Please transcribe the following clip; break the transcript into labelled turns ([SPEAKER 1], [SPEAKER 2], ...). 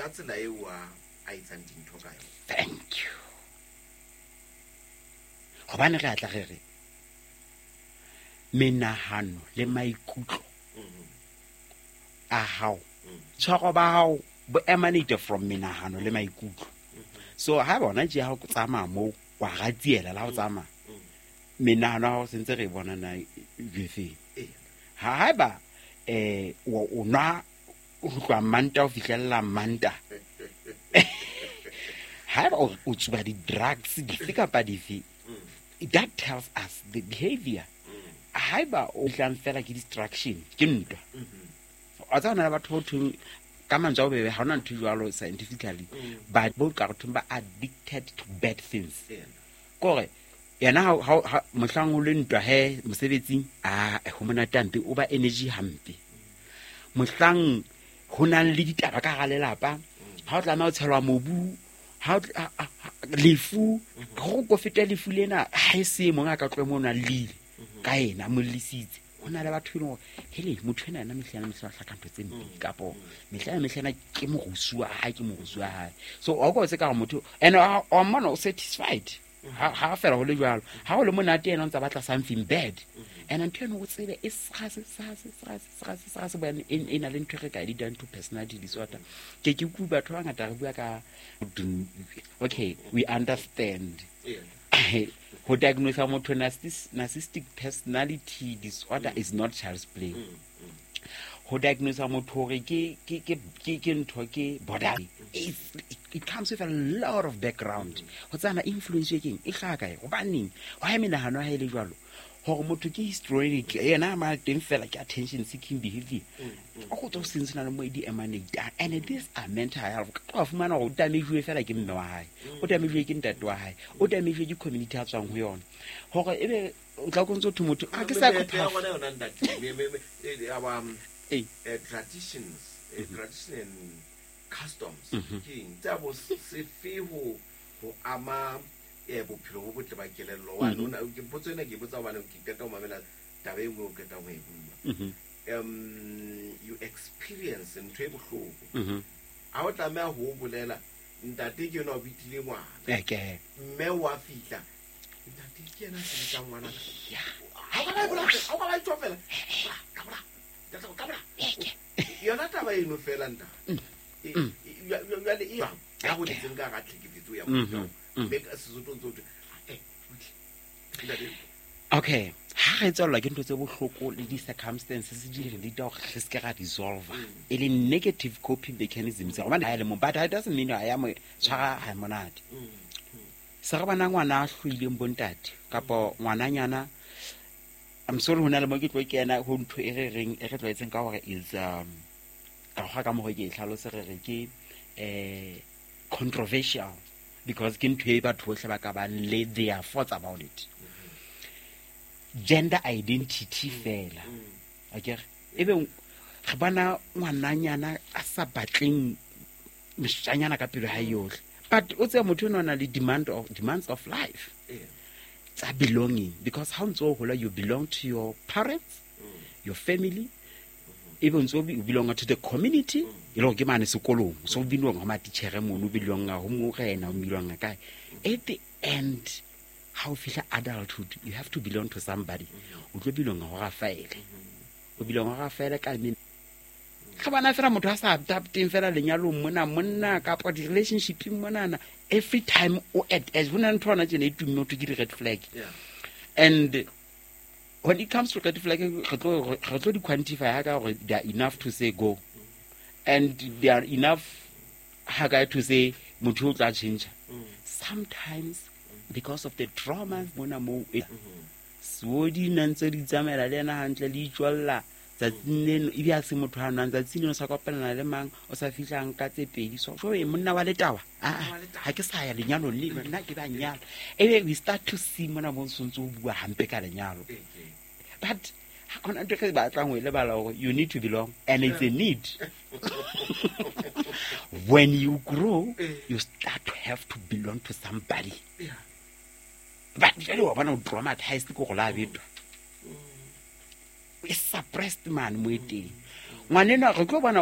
[SPEAKER 1] Ka tsela eo a etsang dintho ka yona.
[SPEAKER 2] Thank you. Gobane re atla re re menahano le maikutlo a hao, tshwaro ba hao bo emanate from menahano le maikutlo. So ha bona tje ha o tsamaya moo, wa ratsiela la ho tsamaya, menahano ya hao sentse re e bona na jefeng. Ha haeba o nwa ho tloha Manta ho fihlella Manta, haeba o tsuba di-drugs dife kapa dife, that tells us the behavior. Haeba o tlang fela ke distraction, ke ntwa, wa tseba, hona le batho bo thweng ka mantswe a bobebe, ha hona ntho e jwalo scientifically, but bo ka re thweng ba addicted to bad things. Kore yena ha mohlang o le ntwa he mosebetsing, a ho monate hampe, o ba energy hampe. Mohlang ho nang le ditaba ka hara lelapa, ha o tlameha ho tshelwa mobu, ha lefu go ko feta lefu lena, ha e se mong a ka tlohe mono a llile ka ena, a mo llisitse. Ho na le batho e leng hore hele, motho ena yena mehla ena mehla o hlaka ntho tse mpe, kapo mehla ena mehla ena ke morusu wa hae, ke morusu wa hae. So wa utlwa se ka gore motho and wa mmona o satisfied ha fela ho le jwalo, ha o le monate, yena o ntsa batla something bad. And ntho eno o tsebe e sgase sgase sgase sgase sgase bone e na le ntho e re ka e bitsang to personality disorder. Ke utlwe batho ba bangata re bua ka, okay, we understand ho diagnose motho narcissistic personality disorder is not child's play. Ho diagnose motho hore ke ntho ke border, it comes with a lot of background ho tsana influence e keng e hlaha kae, hobaneng why menahano ya hae e le jwalo, hore motho ke histrionic, yena ma teng fela ke attention seeking behavior, o go tswa seng se na le mo e di emanate. And these are mental health. Ka tloha fumana hore o damage fela ke mme wa hae, o damage ke ntate wa hae, o damage ke community a tswang ho yona, hore ebe o tla ko ntse thwe motho a ke
[SPEAKER 1] Meetlo ya
[SPEAKER 2] psychopath.
[SPEAKER 1] Rona yona, ntate, our traditions, tradition and customs, ke eng tsa bo sefe ho ama bophelo bo botle ba kelello? Wa nona ke potso ena, ke botsa hobane ke qeta ho mamela taba e nngwe o qetang ho e bua. You experience ntho e bohloko, ha o tlameha ho o bolela, ntate ke yena o bitile ngwana, mme wa fihla, ntate ke yena a sebetsang ngwana. Ha o ka ba e bola, ha o ka ba e tjho fela. Ka bola, ntate, ka bola. Yona taba eno fela, ntate. Jwale e jwang? Ya hoditseng ka hara tlhekefetso ya mofuta oo. Mme ka Sesotho ntse ho thwe, butle. Ntate.
[SPEAKER 2] Okay, ha re tswellwa ke ntho tse bohloko le di-circumstances di re lead hore re seke ra dissolve, e leng negative coping mechanisms, gobane ha e le mong, but it doesn't mean ha ya mo tshwara ha monate. Se re bona ngwana a hloileng bontate kapo ngwananyana, I'm sorry, ho na le mo ke tlo kena ho ntho e re reng e re tlwaetseng ka hore is ka kgwa ka mokgwa ke e tlhalose, re re ke controversial, because ke ntho e batho bohle ba ka bang le their thoughts about it, gender identity fela akere. Ebe re bona ngwananyana a sa batleng moshanyana ka pelo ha yohle, but o tseba motho eno o na le demands of life tsa belonging, because ha o ntse o hola, you belong to your parents, your family, ebe o ntse o belong to the community, e le gore ke mane sekolong, so o belong ho matitjhere mono, o belonga ho morena, o belonga kae. At the end, ha o fihla adulthood, you have to belong to somebody. O tlo belonga ho Rafaele, o belonga ho Rafaele ka mme re bona fela motho a sa adapteng fela lenyalong mona, monna kapa di-relationshipeng monana, every time o at edge. Ho na le ntho hona tjena e tumme ho thwe ke di-red flag. And when it comes to red flag, re tlo di quantify ha ka hore they are enough to say go, and they are enough ha kae to say motho o tla change. Sometimes because of the trauma mona moo so di na ntse di tsamaela le ena hantle, le itswella tsatsing leno, ebe a se motho a nwang, tsatsing leno o sa kopanela le mang, o sa fihlang ka tse pedi, so e monna wa letawa, aa, ha ke sa ya lenyalong le nna ke ba nyala. Ebe we start to see mona mo sontse o bua hampe ka lenyalo, but ha hona ntho e re batlang ho e lebala hore you need to belong, and it's a need. When you grow, you start to have to belong to somebody. But jwale wa bona o traumatized ke gore la betwa, e suppressed mane mo e teng ngwanenwa re tlo bona.